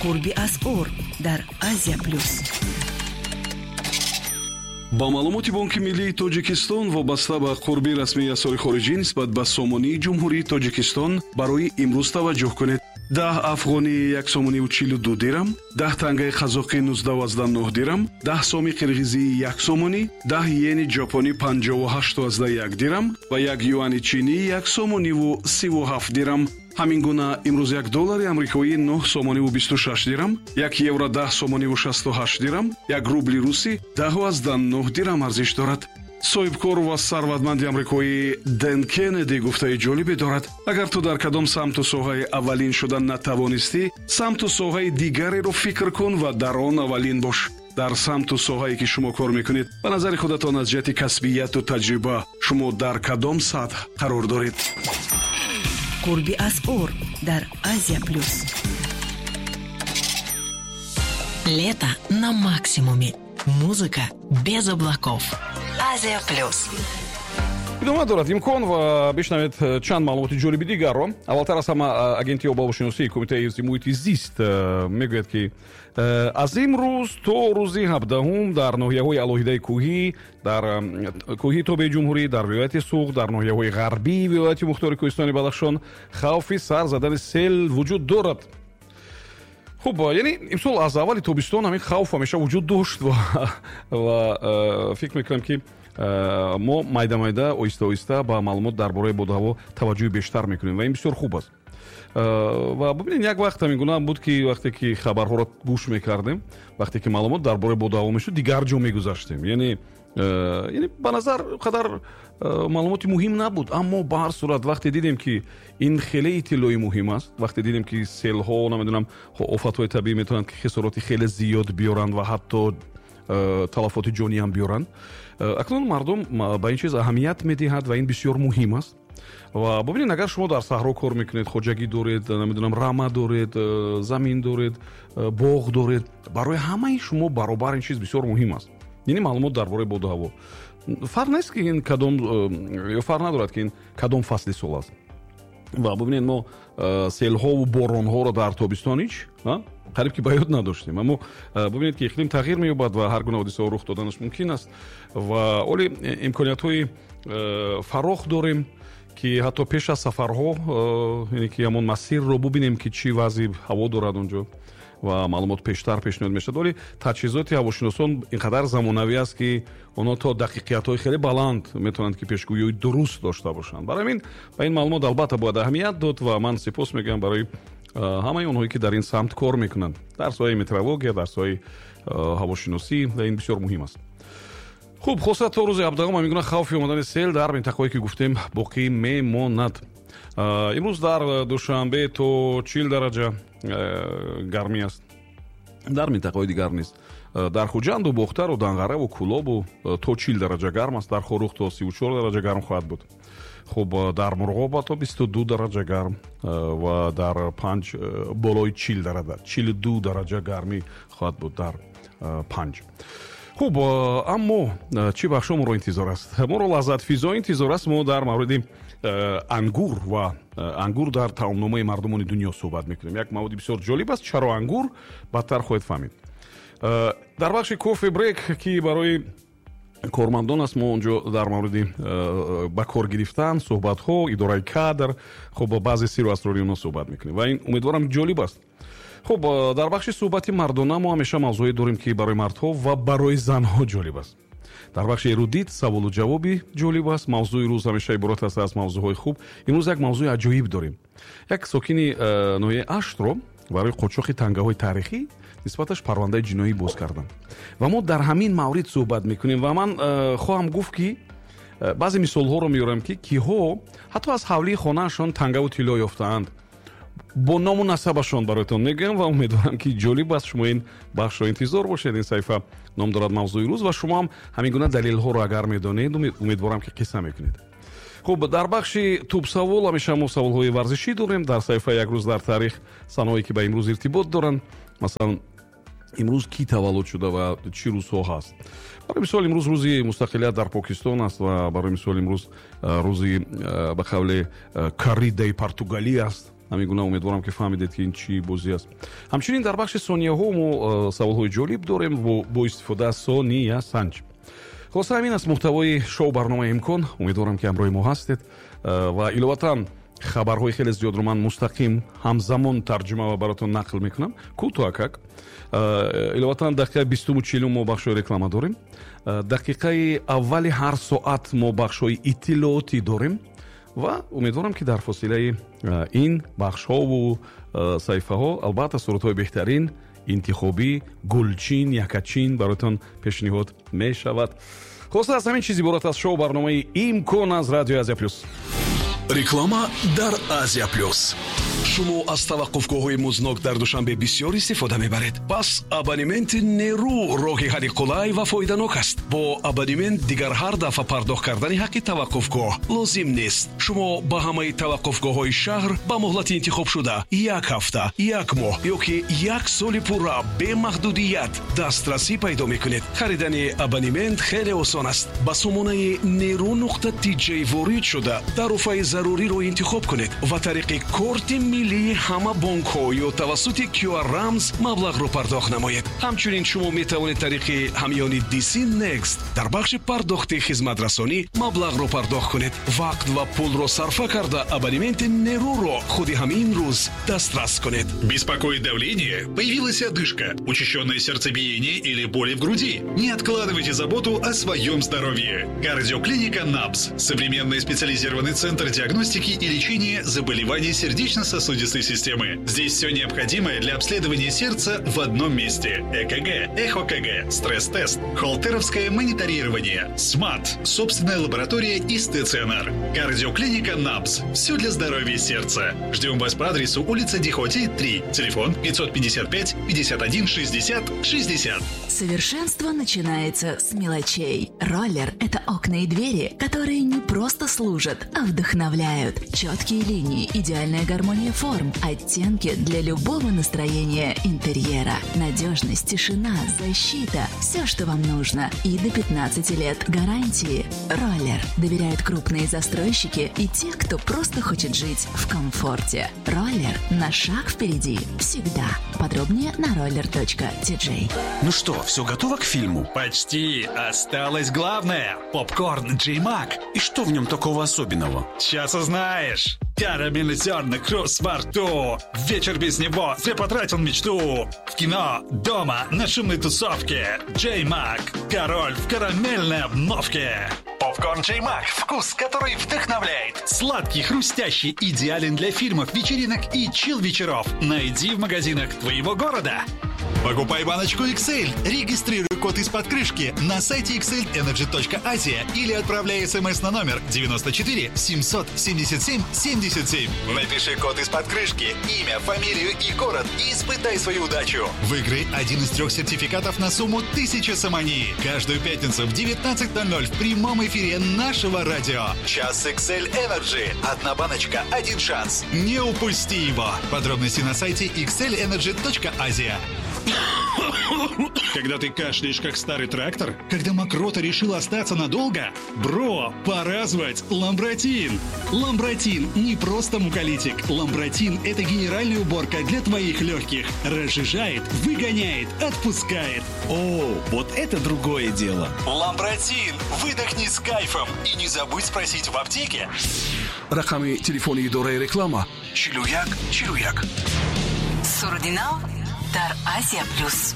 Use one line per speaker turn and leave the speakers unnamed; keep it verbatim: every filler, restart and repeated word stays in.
Қурби асъор дар Азия Плюс.
Ба маълумоти Бонки Миллии Тоҷикистон, вобаста ба қурби расмии асъори хориҷӣ нисбат ба сомонии Ҷумҳурии Тоҷикистон барои имрӯз таваҷҷӯҳ кунед. Даҳ афғонӣ як сомониву чилу ду дирам, даҳ тангаи қазоқӣ нуздаҳу аздаҳ нӯҳ дирам, даҳ соми қирғизӣ як сомонӣ, даҳ йени ҷопонӣ панҷоҳу ҳашту аздаҳ як дирам ва як юани чинӣ як сомониву сиву ҳафт дирам. Ҳамин гуна имрӯз як доллари амрикоӣ нӯҳ сомониву бисту шаш дирам, як евро даҳ сомониву шасту ҳашт дирам, як рубли русӣ даҳу аздаҳ нӯҳ дирам арзиш дорад. Соҳибкор ва сарватманди амрикоӣ Дэн Кеннеди гуфтаи ҷолибе дорад: агар ту дар кадом самту соҳаи аввалин шуда натавонистӣ, самту соҳаи дигареро фикр кун ва дар он аввалин бош. Дар самту соҳае ки шумо кор мекунед, ба назари худатон аз ҷиҳати касбияту таҷриба шумо дар кадом сатҳ қарор доред?
Қурби асъор дар Азия Плюс.
Лето на максимуме. Музыка без облаков. Азия Плюс.
Идома дорад имкон ва бишнавед чанд маълумоти ҷолиби дигарро. Аввалтар аз ҳама, Агентии обҳавошиносии Кумитаи ҳифзи муҳити зист мегӯяд, ки аз имрӯз то рӯзи ҳабдаҳум дар ноҳияҳои алоҳидаи кӯҳӣ, дар кӯҳии тобеи ҷумҳурӣ, дар вилояти Суғд, дар ноҳияҳои ғарбии вилояти мухтори Кӯҳистони Бадахшон хавфи сар задани сел вуҷуд дорад. Хуб, яъне имсол аз аввали тобистон ҳамин хавф ҳамеша вуҷуд дошт ва ва фикр мекунам, ки мо майда майда, оҳиста оҳиста ба маълумот дар бораи боду ҳаво таваҷҷӯҳи бештар мекунем ва ин бисёр хуб аст. Ва бибинед, як вақт ҳамин гуна буд, ки вақте ки хабарҳоро гӯш мекардем, вақте ки маълумот дар бораи боду ҳаво мешуд, дигар ҷо мегузаштем. Яъне яъне ба назар қадар маълумоти муҳим набуд, аммо ба ҳар сурат вақте дидем, ки ин хеле иттилои муҳим аст, вақте дидем, ки селҳо, намедонам, офатҳои табиӣ метавонанд, ки хисороти хеле зиёд биёранд ва ҳатто талафоти ҷонӣ ҳам биёранд, акнун мардум ба ин чиз аҳамият медиҳад ва ин бисёр муҳим аст. Ва бибинед, агар шумо дар саҳро кор мекунед, хоҷагӣ доред, намедонам, рама доред, замин доред, боғ доред, барои ҳамаи шумо баробар ин чиз бисёр муҳим аст. Яъне маълумот дар бораи боду ҳаво фарқ нест, ки ин кадом, ё фарқ надорад, ки ин кадом фасли сол аст. Ва бибинед, мо селҳову боронҳоро дар тобистон ҳеҷ қариб ки ба ёд надоштем, аммо бибинед, ки иқлим тағйир меёбад ва ҳар гуна ҳодисаҳо рух доданаш мумкин аст. Ва оли имкониятҳои фарох дорем, ки ҳатто пеш аз сафарҳо, яъне ки ҳамон масирро бубинем, ки чӣ вазъи ҳаво дорад онҷо ва маълумот пештар пешниҳод мешавад. Вале таҷҳизоти ҳавошиносон ин қадар замонавӣ аст, ки онҳо то дақиқиятҳои хеле баланд метавонанд, ки пешгӯиҳои дуруст дошта бошанд. Барои ҳамин ба ин маълумот албатта бояд аҳамият дод ва ман сипос мегӯям барои ҳамаи онҳое, ки дар ин самт кор мекунанд, дар соҳаи метеорология, дар соҳаи ҳавошиносӣ, ва ин бисёр муҳим аст. Хуб, хоса то рӯзи ҳабдаҳум ҳамин гуна хавфи омадани сел дар минтақаҳое, ки гуфтем, боқӣ мемонад. Имрӯз дар Душанбе то чил дараҷа гармӣ аст, дар минтақаҳои дигар нест. Дар Хуҷанду Бохтару Данғараву Кӯлобу то чил дараҷа гарм аст, дар Хоруғ то сиву чор дараҷа гарм хоҳад буд. Хуб, дар Мурғоб то бисту ду дараҷа гарм ва дар Панҷ болои чил дараҷа, чилу ду дараҷа гармӣ хоҳад буд дар Панҷ. Хуб, аммо чӣ бахшо моро интизор аст? Моро лаззатфизо интизор аст. Мо дар мавриди ангур ва ангур дар таомномаи мардумони дунё суҳбат мекунем. Як маводи бисёр ҷолиб аст. Чаро ангур, бадтар хоҳед фаҳмид. Дар бахши кофе брейк, ки барои кормандон аст, мо онҷо дар мавриди ба кор гирифтан, суҳбатҳо, идораи кадр, хуб, баъзе сиру асрори онҳо суҳбат мекунем ва ин умедворам ҷолиб аст. Хуб, дар бахши суҳбати мардона мо ҳамеша мавзӯе дорем, ки барои мардҳо ва барои занҳо ҷолиб аст. Дар бахши эрудит саволу ҷавоби ҷолиб аст. Мавзӯи рӯз ҳамеша иборат аст аз мавзӯъҳои хуб. Имрӯз як мавзӯи аҷоиб дорем. Як сокини ноҳияи Аштро барои қочоқи тангаҳои таърихӣ нисбаташ парвандаи ҷиноӣ боз карданд ва мо дар ҳамин маврид суҳбат мекунем. Ва ман хоҳам гуфт, ки баъзе мисолҳоро меорам, ки киҳо ҳатто аз ҳавлии хонаашон тангаву тилло ёфтаанд. Бо ному насабашон бароятон мегӯям ва умедворам, ки ҷолиб аст. Шумо ин бахшро интизор бошед. Ин саҳифа ном дорад «Мавзӯи рӯз» ва шумо ҳам ҳамин гуна далелҳоро агар медонед, умедворам, ки қисса мекунед. Хуб, дар бахши тӯбсавол ҳамеша мо саволҳои варзишӣ дорем. Дар саҳифаи «Як рӯз дар таърих» санаҳое, ки ба имрӯз иртибот доранд, масалан, имрӯз кӣ таваллуд шуда ва чӣ рӯзҳо ҳаст. Барои мисол, имрӯз рӯзи мустақилият дар Покистон аст ва барои мисол, имрӯз рӯзи, ба қавле, корридаи португалӣ аст. Ҳамин гуна умедворам, ки фаҳмидед, ки ин чӣ бозӣ аст. Ҳамчунин дар бахши сонияҳо мо саволҳои ҷолиб дорем бо истифода аз сония санҷ. Хулоса, ҳамин аст муҳтавои шоу барномаи «Имкон». Умедворам, ки ҳамроҳи мо ҳастед ва иловатан хабарҳои хеле зиёдро ман мустақим ҳамзамон тарҷума ва баротон нақл мекунам, кӯтоҳакак. Иловатан дақиқаи бистуму чилум мо бахшҳои реклама дорем, дақиқаи аввали ҳар соат мо бахшҳои иттилоотӣ дорем ва умедворам, ки дар фосилаи ин бахшҳову саҳифаҳо албатта сурудҳои беҳтарин, интихобӣ, гулчин, якачин бароятон пешниҳод мешавад. Хулоса, аз ҳамин чиз иборат аст шоу барномаи «Имкон» аз радиои «Азия Плюс».
Реклама дар «Азия Плюс». Шумо аз таваққуфгоҳҳои музнок дар Душанбе бисёр истифода мебаред. Пас абонементи «Нерӯ» роҳи ҳалли қулай ва фоиданок аст. Бо абонемент дигар ҳар дафъа пардохт кардани ҳаққи таваққуфгоҳ лозим нест. Шумо ба ҳамаи таваққуфгоҳҳои шаҳр ба муҳлати интихобшуда, як ҳафта, як моҳ ё ки як соли пурра, бемаҳдудият дастрасӣ пайдо мекунед. Харидани абонемент хеле осон аст. Ба сомонаи нерӯ нуқта тиҷ ворид шуда, тарофаи заруриро интихоб кунед ва тариқи корти миллии ҳама бонкҳо ё тавассути Q R рамз маблағро пардохт намоед. Ҳамчунин шумо метавонед тариқи ҳамёни D C Next дар бахши пардохти хизматрасонӣ маблағро пардохт кунед. Вақт ва пулро сарфа карда, абонементи «Нерӯро» худи ҳамин рӯз дастрас кунед.
Беспокоит давление? Появилась одышка, учащенное сердцебиение или боли в груди? Не откладывайте заботу о своем здоровье. Кардиоклиника НАБС. Современный специализированный центр диагностики и лечения заболеваний сердечно-сосудистой системы. Здесь все необходимое для обследования сердца в одном месте. Э К Г, эхо К Г, стресс-тест, холтеровское мониторирование, СМАТ, собственная лаборатория и стационар. Кардиоклиника НАБС. Все для здоровья сердца. Ждем вас по адресу: улица Дихоти, три. Телефон пятьсот пятьдесят пять пятьдесят один шестьдесят шестьдесят.
Совершенство начинается с мелочей. «Роллер» — это окна и двери, которые не просто служат, а вдохновляют. Четкие линии, идеальная гармония форм, оттенки для любого настроения интерьера. Надежность, тишина, защита – все, что вам нужно. И до пятнадцати лет гарантии. «Роллер» доверяют крупные застройщики и те, кто просто хочет жить в комфорте. «Роллер» на шаг впереди всегда. Подробнее на roller.tj.
Ну что, все готово к фильму?
Почти. Осталось главное. Попкорн Джей Мак.
И что в нем такого особенного?
Сейчас узнаешь. Карамельный зерна, хруст во рту. Вечер без него зря потратил мечту. В кино, дома, на шумной тусовке. Джей Мак. Король в карамельной обновке. Попкорн Джей Мак. Вкус, который вдохновляет. Сладкий, хрустящий, идеален для фильмов, вечеринок и чил-вечеров. Найди в магазинах твоего города. Покупай баночку X L. Регистрируй код из-под крышки на сайте xlenergy точка asia или отправляй смс на номер девяносто четыре семьсот семьдесят семь семьдесят семь. Напиши код из-под крышки, имя, фамилию и город и испытай свою удачу. Выиграй один из трех сертификатов на сумму тысяча сомони. Каждую пятницу в девятнадцать ноль ноль в прямом эфире нашего радио. Час X L Energy. Одна баночка, один шанс. Не упусти его. Подробности на сайте xlenergy точка asia. Когда ты кашляешь, как старый трактор? Когда мокрота решила остаться надолго? Бро, пора звать Ламбратин! Ламбратин не просто муколитик. Ламбратин – это генеральная уборка для твоих легких. Разжижает, выгоняет, отпускает.
О, вот это другое дело.
Ламбратин! Выдохни с кайфом. И не забудь спросить в аптеке.
Рақами телефони идораи реклама чилу як чилу як.
Суруди нав дар «Азия Плюс».